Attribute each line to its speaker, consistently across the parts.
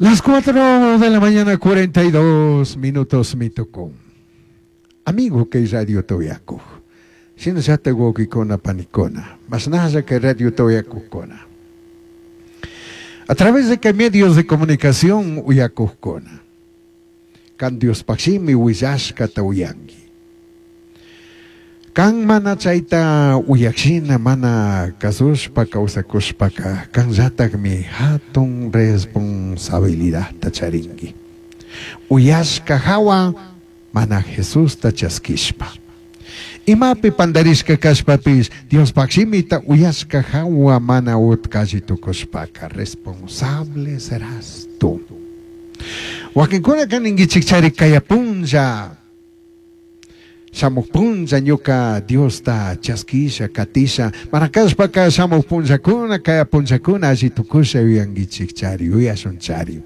Speaker 1: Las 4 de la mañana, 42 minutos mi tocó. Amigo kay radio toyakuj. Shinallata wawkikuna panikuna. Mashnalla kay radio toyakujkuna. A través de kay medios de comunicación uyakujkuna. Kan Diospaj shimi willashkata uyanki. Kan mana chayta uyakshina mana kasushpa kawsakushpaka kanllatakmi hatun responsabilidadta charinki. Uyashka hawa mana Jesusta chaskishpa. Imapi pandarishka kashpapish Diospaj shimita uyashka hawa mana utkalli tukushpaka responsable serás tú. Wakinkunaka ninkichik chari kaya punlla shamuj punlla ñuka Diosta chaskisha katisha mana kashpaka shamuj punllakuna kaya punllakuna alli tukusha yuyankichik chari yuyashun chari.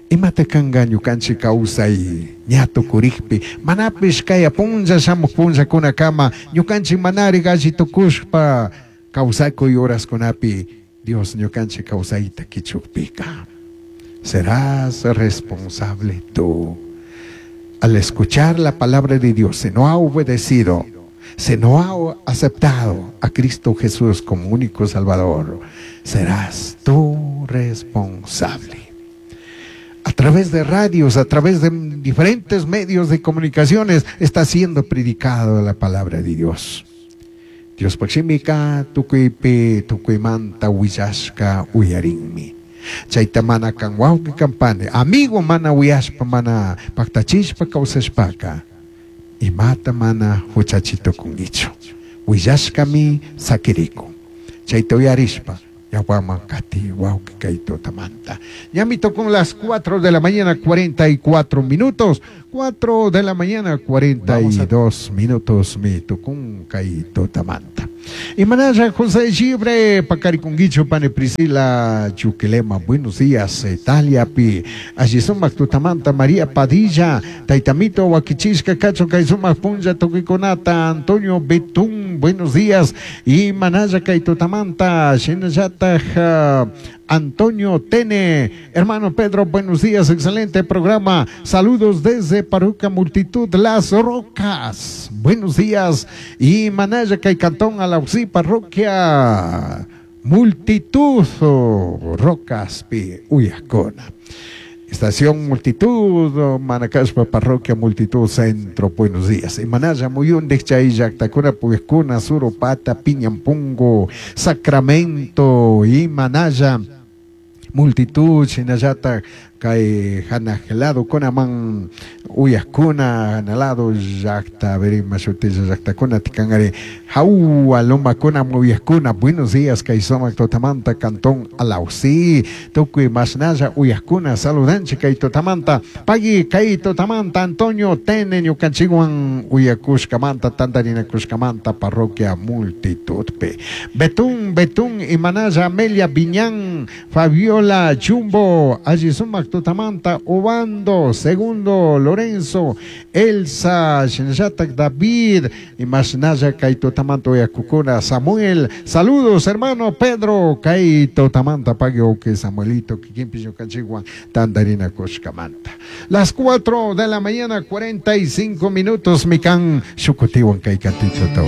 Speaker 1: Imata kanka ñukanchik kawsay ña tukurikpi manapish kaya punlla shamuj punllakunakama ñukanchik manarik alli tukushpa kawsakuy horaskunapi Dios ñukanchik kawsayta kichukpika. Serás responsable tú. Al escuchar la palabra de Dios, si no ha obedecido, si no ha aceptado a Cristo Jesús como único Salvador, serás tú responsable. A través de radios, a través de diferentes medios de comunicaciones, está siendo predicado la palabra de Dios. Diospaj shimika tukuypi tukuymanta willashka uyarinmi. Chayta mana kan wawqi kan pani, amigo mana uyashpa mana paktachishpa kawsashpaka, imata mana huchachitukunkichu. Willashkami sakirikun. Chayta uyarishpa, ñawpaman kati wawqi kay tutamanta. Ñami tukun las 4 de la mañana, 44 minutos. 4 de la mañana, 42 minutos mi tukun kay tutamanta. Imanalla José Gibre, Pacariconguicho, Pane Priscila, Chuquilema, buenos días, Italia, pi, allí sumak tutamanta, María Padilla, Taitamito, Huaquichishka, Cacho, Kaisumak, Punja, Tuquiconata, Antonio Betún, buenos días, y Manaya, Kaitutamanta, Shinayata, Antonio Tene, hermano Pedro, buenos días, excelente programa, saludos desde Parroquia Multitud Las Rocas, buenos días, y Manaya, Cantón, Alausí, Parroquia Multitud Rocas, Pi, Uyacona. Estación Multitud, Manacaspa, Parroquia Multitud Centro, buenos días. Y Manaya, Muyundej, Chay, Llactacuna, Puyescuna, Suropata, Piñampungo, Sacramento, y Manaya, Multitud, Shinayata, kay hanaj lado kunaman uyajkuna hanalado llaqta verima shutilla llaqtakuna tikanari hawa lomakuna uyajkuna buenos días kay sumak tutamanta cantón Alausí tukuy mashnalla uyajkuna saludanchik kay tutamanta pagui kay tutamanta Antonio Tene ñukanchikwan uyakushkamanta tantarinakushkamanta parroquia Multitudpi Betún Betún imanalla Amelia Viñán Fabiola Chumbo alli sumak tutamanta Obando, Segundo, Lorenzo, Elsa, Shinallatak, David, y Mashnaya, kay tutamanta uyakukuna, Samuel, saludos hermano Pedro, kay tutamanta pagui que Samuelito, kikinpish ñukanchikwan tantarinakushkamanta. Las 4 de la mañana, 45 minutos, mikan shukutiwan kay katito.